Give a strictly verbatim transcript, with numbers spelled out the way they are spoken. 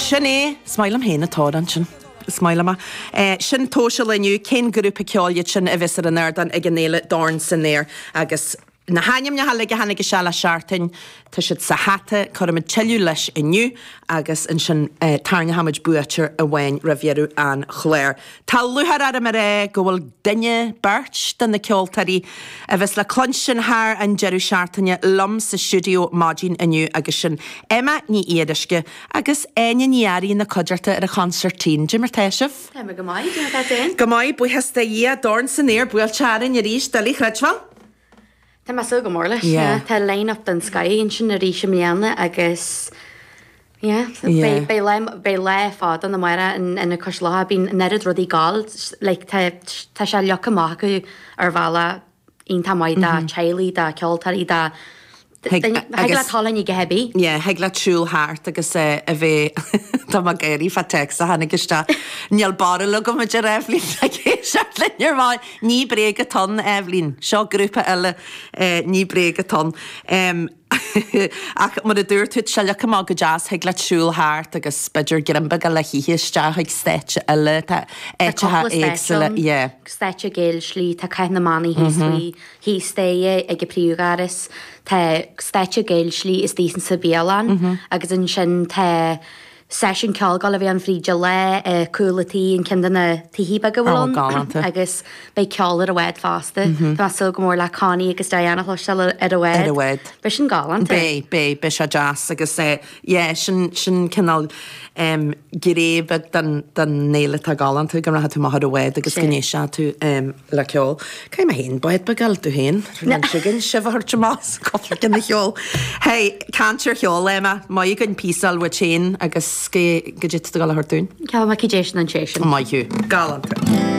Sin é, is maith liom féin an t-amhrán sin. Is maith liom é. Sin tomhais an lae inniu, cén grúpa ceoil iad sin a bheas ar an ardán ag an fhéile Dorn san Aer agus na hainmneacha uilig a tháinig isteach le seachtain, tá siad sa hata, cuirfimid tuilleadh leis inniu agus ansin tarraingeoimid buaiteoir amháin roimh dheireadh an chláir. Tá lúcháir orm a rá go bhfuil duine, beirt de na ceoltóirí a bheas le cluinstin thar an deireadh seachtaine liom sa stiúideo maidin inniu agus sin Emma Ní Fhíoruisce agus Áine Ní Fhearraigh ina cuideachta ar an chonsairtín. Cad é mar tá sibh? Tá mé go maith, cad é mar tá tú féin? Go maith, buíochas do Dhia, Dorn san Aer buailte orainn arís, doiligh a chreidbheáil. Tá mé ag súil go mór leis, yeah. Tá line-up den scoth ansin arís i mbliana agus yeah, beidh, beidh lá, beidh lá fada ann amárach in, in Cois Locha, bíonn an oiread rudaí ag gabháil, like tá, tá sé leagtha amach acu ar bhealach iontach maith do teaghlaigh, do cheoltóirí, do Thig leat dul ag a bith. Yeah, thig leat siúl thart agus a bheith, tá mé ag gáirí fá téacs a tháinig isteach, níl barúil agam a deir Eibhlín ag éisteacht linn ar maidin. Ní bréag atá ann, Eibhlín. Seo grúpa eile, ní bréag atá ann. Ach mar a dúirt tú, tá sé leagtha amach go deas, thig leat siúl thart agus b'fhéidir greim beag le hithe isteach ag stáitse eile, tá áiteacha éagsúla, yeah. Stáitse Gaelslí, tá Cath na mBannaí thíos faoi, thíos staighre ag an príomhdhoras, tá stáitse Gaelslí istigh sa bhialann agus ansin tá seisiún ceoil ag gabháil a bheith ann fríd an lá i cúl an tí, an ceann de na tithe beaga a bhfuil ann agus beidh ceol ar an bhád fosta. Tá mé ag súil go mór le Connie agus Diane a chloisteáil ar an bhád. Ar an bhád. Beidh sin galánta. Beidh, beidh, beidh sé deas agus yeah, sin, sin cineál gné beag den, den fhéile atá galánta, go rachaidh tú amach ar an bhád agus go n-éistfidh tú le ceol. Caithfidh mé féin bád beag a fháil domh féin, sin sibh a thabhairt amach sa cúpla ceann de cheol. Hey, caint ar cheol, Emma, maith againn píosa a fháil uait féin agus go dtí tú ag dul a thabhairt dúinn. Ceol maith cad é sin an sé sin. Maith thú. Galánta.